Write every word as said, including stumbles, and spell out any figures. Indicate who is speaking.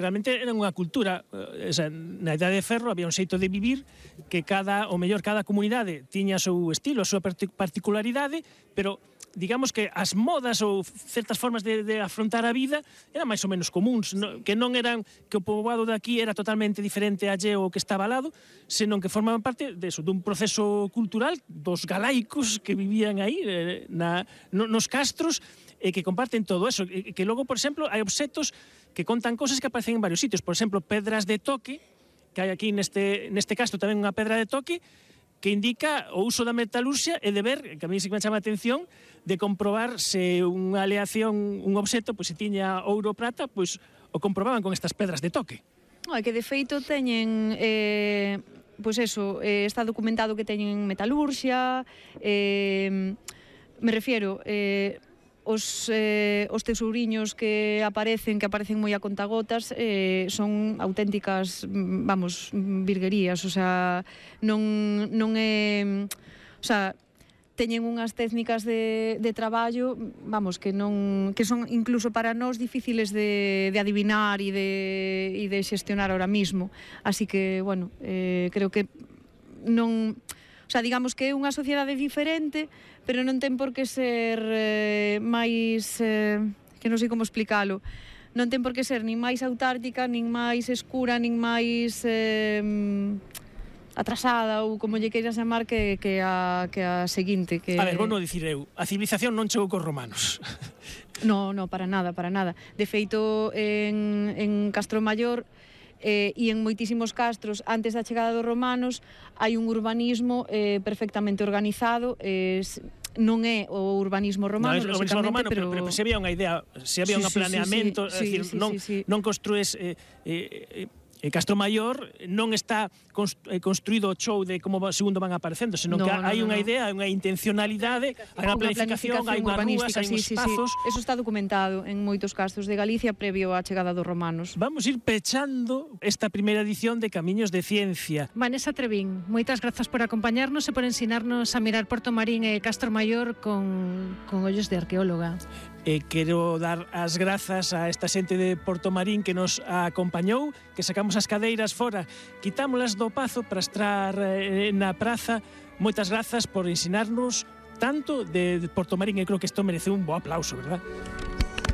Speaker 1: Realmente era unha cultura, eh, esa, na Idade de Ferro había un xeito de vivir que cada, o mellor, cada comunidade tiña o seu estilo, a súa particularidade, pero digamos que as modas ou certas formas de, de afrontar a vida eran máis ou menos comuns, no, que non eran que o poboado de aquí era totalmente diferente a lle o que estaba ao lado, senón que formaban parte de eso, dun proceso cultural dos galaicos que vivían aí eh, na, no, nos castros, e que comparten todo eso, e que logo, por exemplo, hai obxetos que contan cosas que aparecen en varios sitios, por exemplo, pedras de toque, que hai aquí neste, neste castro tamén unha pedra de toque, que indica o uso da metalurxia e de ver, que a mí sí que me chama a atención, de comprobar se unha aleación, un obxeto, pois se tiña ouro ou prata, pois o comprobaban con estas pedras de toque.
Speaker 2: É que de feito teñen... Eh... Pois eso, eh, está documentado que teñen metalurxia, eh, me refiero... Eh, Os, eh, os tesouriños que aparecen, que aparecen moi a contagotas, eh, son auténticas, vamos, virguerías, o sea, non, non é... O sea, teñen unhas técnicas de, de traballo, vamos, que non que son incluso para nós difíciles de, de adivinar e de, e de xestionar ahora mismo. Así que, bueno, eh, creo que non... O sea, digamos que é unha sociedade diferente, pero non ten por que ser eh, máis... Eh, que non sei como explicalo. Non ten por que ser nin máis autártica, nin máis escura, nin máis eh, atrasada, ou como lle queiras chamar, que, que, a, que a seguinte. Que...
Speaker 1: A ver, vou non dicir eu, a civilización non chegou cos romanos.
Speaker 2: No, no, para nada, para nada. De feito, en, en Castromaior... Eh, e en moitísimos castros antes da chegada dos romanos hai un urbanismo eh, perfectamente organizado, eh, non é o urbanismo romano,
Speaker 1: no, é o urbanismo romano, pero, pero, pero se había unha idea, se había sí, un
Speaker 2: sí,
Speaker 1: planeamento,
Speaker 2: sí, sí,
Speaker 1: é dicir,
Speaker 2: sí,
Speaker 1: non,
Speaker 2: sí, sí.
Speaker 1: non construes eh, eh, E Castromaior non está construído o show de como segundo van aparecendo, senón no, que hai no, unha no. idea, hai unha intencionalidade, hai unha planificación, hai unhas rúas, hai uns
Speaker 2: sí,
Speaker 1: espazos.
Speaker 2: Sí, sí. Eso está documentado en moitos castros de Galicia previo á chegada dos romanos.
Speaker 1: Vamos ir pechando esta primeira edición de Camiños de Ciencia.
Speaker 3: Vanessa Trevín, moitas grazas por acompañarnos e por ensinarnos a mirar Porto Marín e Castromaior con, con ollos de arqueóloga.
Speaker 1: E quero dar as grazas a esta xente de Porto Marín que nos acompañou, que sacamos as cadeiras fora, quitámolas do pazo para estar eh, na praza. Moitas grazas por ensinarnos tanto de Porto Marín, e creo que isto merece un bo aplauso, verdad?